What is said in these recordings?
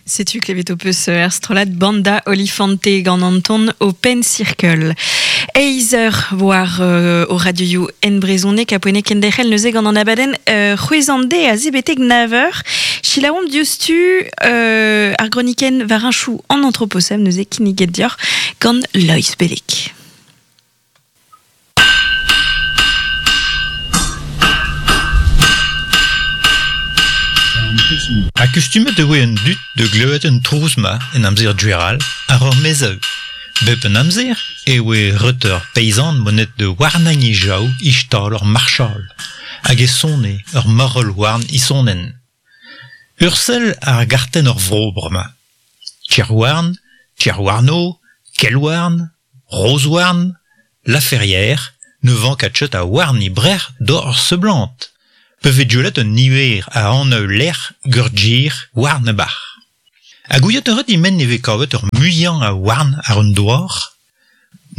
Setu klevet ho peus er strollad Banda Olifante gant an ton Open Circle. Eizh eur war o radioioù en brezhoneg ha poent kenderc'hel neuze gant an abadenn c'hwezh an de a betek nav eur. Selaouomp diouzhtu ar gronikenn war heñchoù an antroposem neuze kinniget deoc'h gant Loeiz Belleg. Akustumet e voe an dud da glevet an trouz-mañ en amzer gwechall àr ur maezioù. Bep an amzer e oe ret ur peizant monet da warnañ e jav e stal ur marchal hag e sone ur marc'h-houarn isonenn. Ur sell àr gartenn ur vro bremañ. Kerhouarn, Kerhouarno, Kelhouarn, Rozhouarn, La Ferrière, ne vank ket a houarn e brec'h doc'h seblant. Pa vez gwelet un niver a anv lec'h gant houarn e-barzh. Ha gouiet a rit e-men e vez kavet ur muiañ a houarn àr an douar ?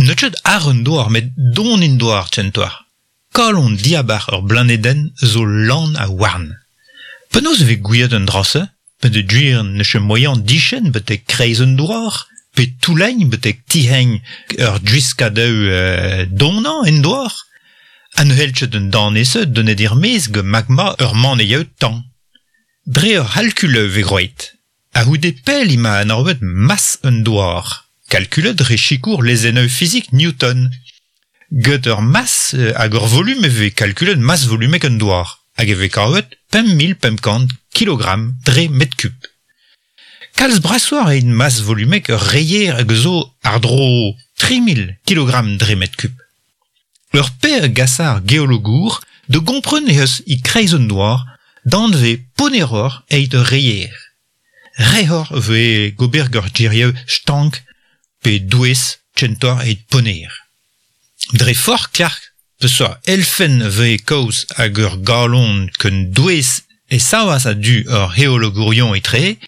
N'eus ket àr an douar met don en douar kentoc'h. Kalon diabarzh ur blanedenn zo lan a houarn. Penaos e vez gouiet an dra-se ? Peogwir n'eus ket moaien diskenn betek kreiz an douar pe toullañ betek tizheñ ur gwiskadoù donañ en douar. Ha ne c'hell ket an danvez-se donet er-maez gant magma ur maneioù tan. Dre ur c'halkul e vez groet. A-c'houde pell emañ anavet mas an douar, kalkulet dre sikour lezennoù fizik Newton. Gant ur mas hag ur volum e vez kalkulet mas volumek an douar hag e vez kavet 5500 kilogramm dre metr kub. Kalz brasoc'h eo mas volumek ur reier hag zo àr-dro 3000 kilogramm dre metr kub. Ur pezh a gasa ar geologour da gompren eh eus e-kreiz an douar danvez ponneroc'h evit ur reier. Rehoc'h e vez gober gant gerioù stank pe douez kentoc'h evit ponner. Dre forzh klask peseurt elfenn a vez kaoz hag ur galon ken douez e savas a-du ur geologourion etre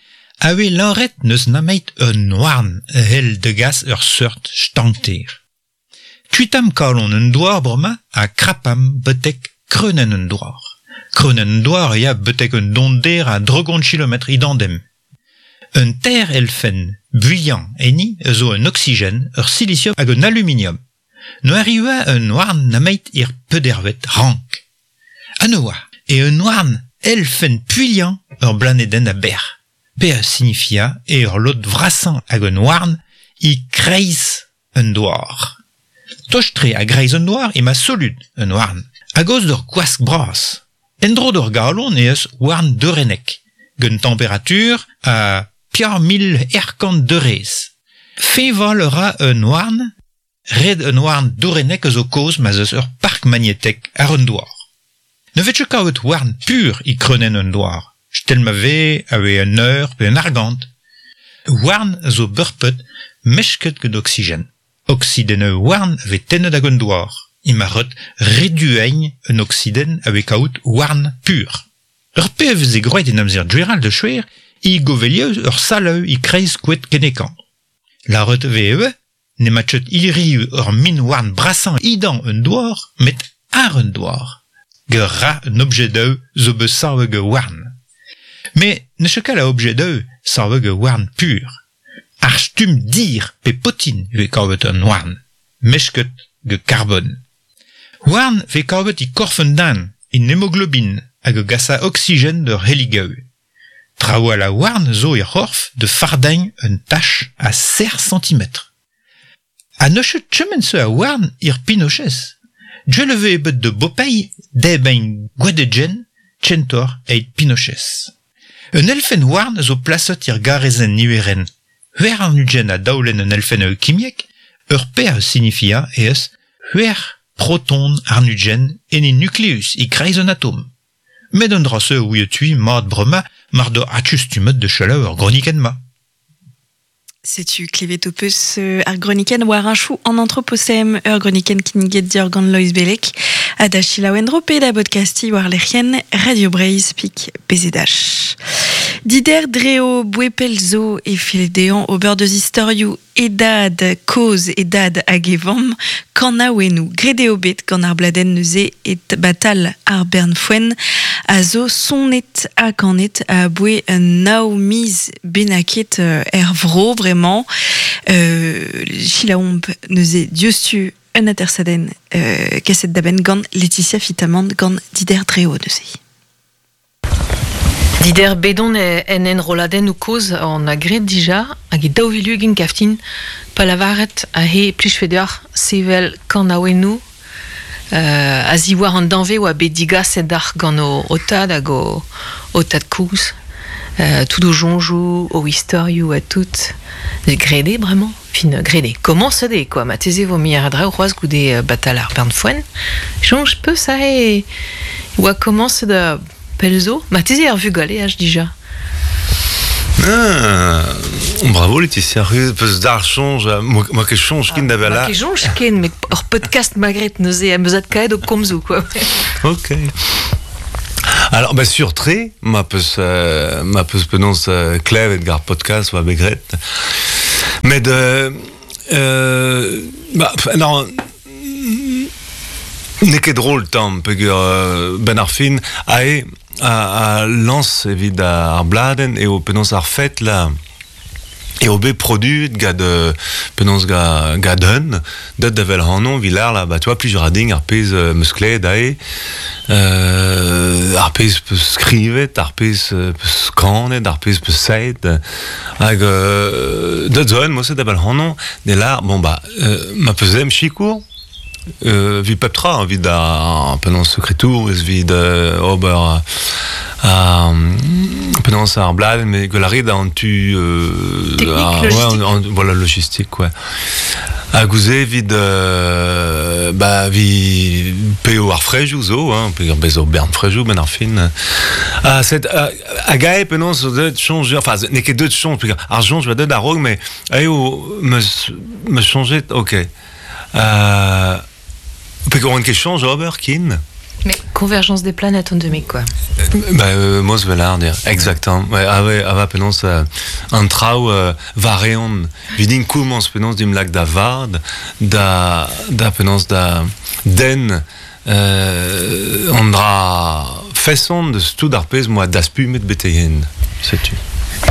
a vez lâret n'eus nemet un houarn a c'hell degas ur seurt stankter. Kuitaomp kalon an douar bremañ ha krapamp betek kreunenn an douar. Kreunenn an douar a ya betek un donder a dregont kilometr idandem. Un teir elfenn builhañ enni a zo un oksigen, ur silisium hag un aluminium. Ne arriva un houarn nemet er pedervet rank. Ha ne oa e un houarn elfenn puilhañ ur blanedenn a-bec'h. Pe a signifia eo ur lod vrasañ hag un houarn e-kreiz un douar. Tost-tre a-greiz un douar emañ solud un houarn, a-gaoz d'ur gwask bras. En-dro d'ur galon eh eus houarn dourennek, gant temperatur a 4100 derez. Fiñval a ra un houarn, red un houarn dourennek a zo kaoz ma'z eus ur park magnetek àr an douar. Ne vez ket kavet houarn pur e kreunenn an douar, stel ma vez a vez un eur pe un argant. Houarn a zo bepred mesket gant oksigen. Oksidennoù houarn a vez tennet ag an douar. Emañ ret redueiñ un oksidenn a vez kaout houarn pur. Ur pezh a veze gwraet en amzer gwechall da skouer e govelioù ur salv e-kreiz koad Kenekan. Lâret e vez ivez n'emañ ket hiriv ur min-houarn brasañ edan un douar met àr un douar. Gant ra un objedoù zo bet savet gant houarn. Met n'eus ket kalz a objedoù savet gant houarn pur. Ar stumm dir pe potin e vez kavet an houarn, mesket gant karbon. Houarn 'vez kavet e korf un den, en hemoglobin hag a gasa oksigen d'ur c'helligoù. Trawalc'h a houarn zo er c'horf da fardañ un tach a seizh santimetr. Ha n'eus ket kement-se a houarn er pinochez. Gwell e vez bet da Bopeye debriñ gwadegenn kentoc'h evit pinochez. Un elfenn houarn a zo plaset er garezenn niverenn c'hwec'h warn-ugent a daolenn un elfenn kimiek, ur pezh a signifia eh eus c'hwec'h proton warn-ugent en e nukleus e-kreiz un atom. Met an dra-se a ouiot-c'hwi mat bremañ mar doc'h akustumet da selaou ar gronikenn-mañ. Setu klevet ho peus ar gronikenn war heñchoù an antroposem, ur gronikenn kinniget deoc'h gant Loeiz Belleg ha da selaou en-dro pe da bodkastiñ war lec'hienn Radio Breizh pik PZH. Dider dreo bouepel zo e file dezhañ ober deus istorioù e dad kozh, e dad hag e vamm kanaouennoù. Graet eo bet gant ar bladenn neuze et batal ar bern foenn a zo sonet ha kanet aboe nav miz bennaket er vro bremañ. Selaomp neuze diouzhtu un atersadenn kaset da benn gant Laetitia Fitamant gant Dider Dreo neuze. Dider bet on en enrolladennoù kozh hon a graet dija hag e 2020 kaftin pa lavaret aze e plijfe deoc'h sevel kanaouennoù a-ziwar an danvez oa bet digaset deoc'h gant ho tad hag ho tad-kozh. Tout ho soñjoù, ho istorioù ha tout. Graet eo bremañ. Fin, graet eo. Komañset eo kwa, marteze e vo muioc'h a draoù c'hoazh goude batal ar bern foenn. Soñj 'peus aze e oa komañset Pell zo, marteze ar vugaleaj dija. Ah, bravo Laetitia, peus d'ar soñj, ma ket soñj ken da vel Ma ket soñj ken, met ur podcast magret neuze am eus adkaet ho komzoù quoi. Ok. Alors, bah, sur tre, ma peus, ma peus penaos klevet gar podcast oa bet graet. Met, bah, non, N'eo ket drol tamm peogwir 'benn ar fin aze a lañs evit ar bladenn eo penaos ar fed la eo bet produet gant penaos gant un deut da wel ac'hanon evit lâr là bah tu vois plij a ra din ar pezh 'meus klevet aze ar pezh 'peus skrivet ar pezh 'peus kanet ar pezh 'peus saet hag deut zo un mod-se da wel ac'hanon ne lâr bon bah ma peus em sikour evit pep tra, evit ar penaos sekretourez, evit ober ar penaos ar bladenn, mais gwell a rit an tu Technique, logistique. Ouais, voilà, logistique, ouais. Hag ouzh evit bah, evit peo ar frejoù zo, hein, peogwir bez zo bern frejoù benn ar fin. Ha set, hag ae penaos zo deuet soñj, enfin, n'eo ket deuet soñj, peogwir ar soñj va deuet a-raok, mais eo 'meus 'meus soñjet, ok. Peogwir oan ket soñj ober ken. Mais convergence des planètes on demi quoi. Bah, moz vel dir, exactement. Ouais, ah ouais, ah va penaos an traoù war-eeun. Evit din komañs penaos dimp lak da vad, da, da penaos da den an dra feson deus tout ar pezh 'moa daspumet betek-henn. Setu.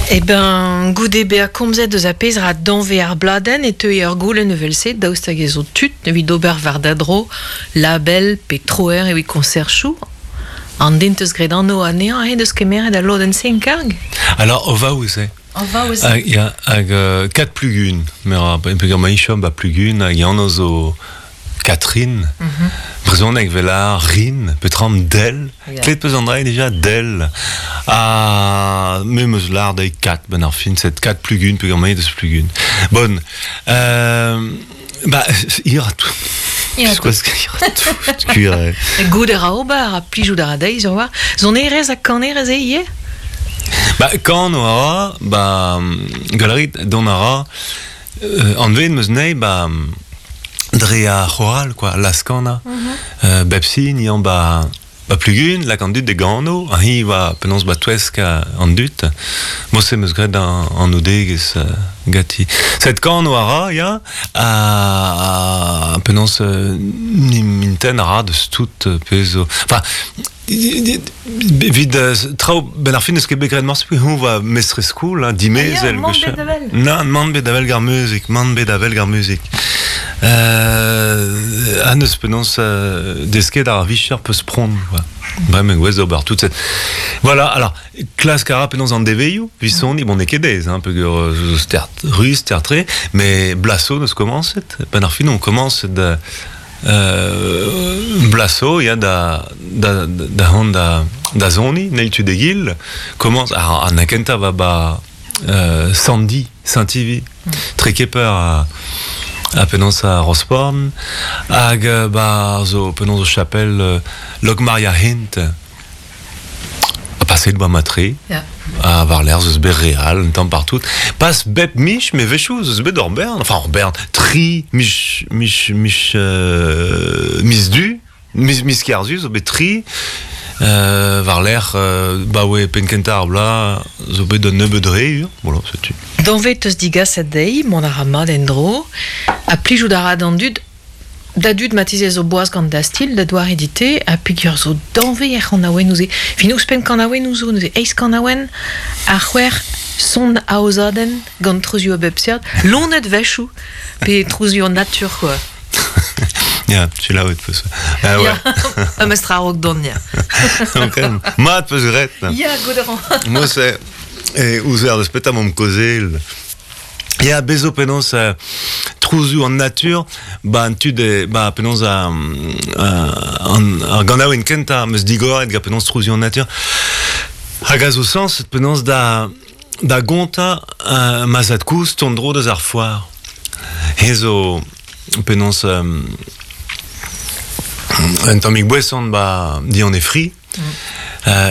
Eh ben, goude bezañ komzet eus ar pezh ra danvez ar bladenn e teue ur goulenn evel-se, daoust hag ez zo tud evit ober war da dro label pe troer evit koñserchoù? An den 'teus graet anv anezhañ he deus kemeret al lodenn-se en karg? Alors, o vaouez eo. O vaouez. Hag, ya, hag Kat Plugun, peogwir ma chom ba Plugun, hag anv zo Catherine, brezhoneg 'vel ar Rin, petra Del. Klevet 'peus an dra dija, Del. Ha me 'm eus lâret dezhi Kat 'benn ar fin, set Kat Plugun peogwir me deus Plugun. Bon, bah, hir a tout. Hir a tout, gwir eo. Goût a ra ober ha plijout a ra dezhi sur war. Sonerezh ha kanerezh eo ivez? Ba, kan a ra, ba, gall a rit, dont a ra, Anvet 'm eus anezhi 'ba dre ar c'horal quoi, laz-kanañ. Bep sin yañ 'ba 'ba Plugun, lak an dud da gano, ha hi 'oa penaos 'ba touesk an dud. Mod-se 'm eus graet an oudegezh ganti. Set kano a ra, ya, ha penaos n'im intent a ra deus tout pezh zo. Enfin, Evit traoù, benn ar fin n'eus ket bet graet morse peogwir hoñ 'oa mestrez skol, hein, dimezell. Ah ya, mann bet da wel. Nann, mann bet da wel gant ar muzik, mann bet da wel gant ar muzik. Ha n'eus penaos desket ar vicher peus pront, quoi. Bremañ gouest d'ober tout cette... Voilà, alors, klask a ra penaos an devezhioù, evit soniñ, bon, n'eo ket aes, hein, peogwir zo stert ruz, stert-tre, mais blaso n'eus komañset. Benn ar fin on komañset da... Blaso ya da da da c'hoant da da soniñ n'eil tu d'egil komañs ar an kentañ va ba Sandy Saint-Ivy Trekeper ha ha penaos a Rosporn hag ba zo penaos o chapel Lokmaria Hent Ha paseet 'oa mat-tre. Ya. Ha war-lerc'h 'z eus bet re all un tamm partout. Pas bep miz, met 'wechoù 'z eus bet ur bern, enfin ur bern, tri miz, miz, miz, miz du, miz, miz kerzu zo bet tri. War lec'h ba oe pen kenta ar bla zo bet un nebeud re ur, voilà, setu. Danvet eus digaset dezhi, mont a ra mat en-dro, ha plijout a ra d'an dud, da dud matizez zo boaz gant da stil, da doare dit-te, ha peogwir zo danvez er c'hanaouennoù se. Fin ouzhpenn kanaouennoù zo, neuze eizh kanaouenn, ar c'hwec'h son aozadenn gant trouzioù a bep seurt, loened wechoù, pe trouzioù an natur, quoi. Ya, selaouet peus. Ah ouais. Ya, mestr a-raok dont, ya. Ok, mat peus graet. Ya, goût a ran. Moi, c'est... E ouzer deus petra m'omp kaozeal. Ya, bez zo penaos trouzioù an natur, ba an tud, ba penaos an, ar ganaouenn kentañ 'm eus digoret gant penaos trouzioù an natur. Hag a zo sañset penaos da, da gontañ ma zad-kozh tont-dro deus ar foar. He zo penaos un tammig boeson ba dian e fri.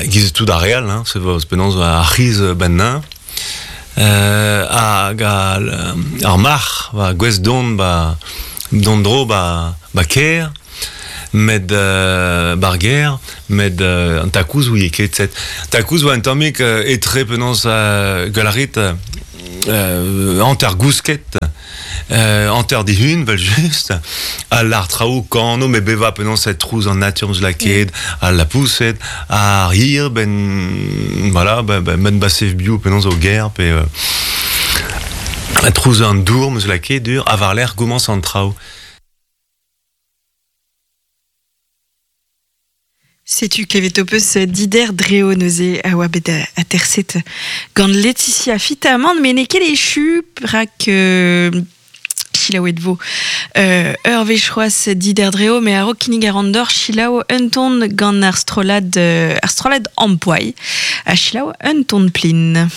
Giz tout ar re all, hein, se penaos ar c'hiz bennañ. Hag ar marc'h ba gouest dont ba dont dro ba ba kêr met bar gêr met an takouz ouie ket set takouz oa un tammig etre penaos gwell a rit hanter gousket hanter dihun vel-just ha lar traoù kano met bevañ penaos e trouz an natur 'm eus lakaet al lapoused ar hir ben voilà ben basev bio penaos o ger pe trouz an dour 'm eus lakaet dur ha war-lerc'h gomañs an traoù. Setu klevet ho peus Dider Dreo neuze a oa bet aterset gant Laetitia Fitamant, met n'eo ket echu rak selaouet vo ur wech c'hoazh Dider Dreo, met a-raok kinnig a ran deoc'h selaou un ton gant ar strollad ar strollad Ampoai ha selaou un ton plin.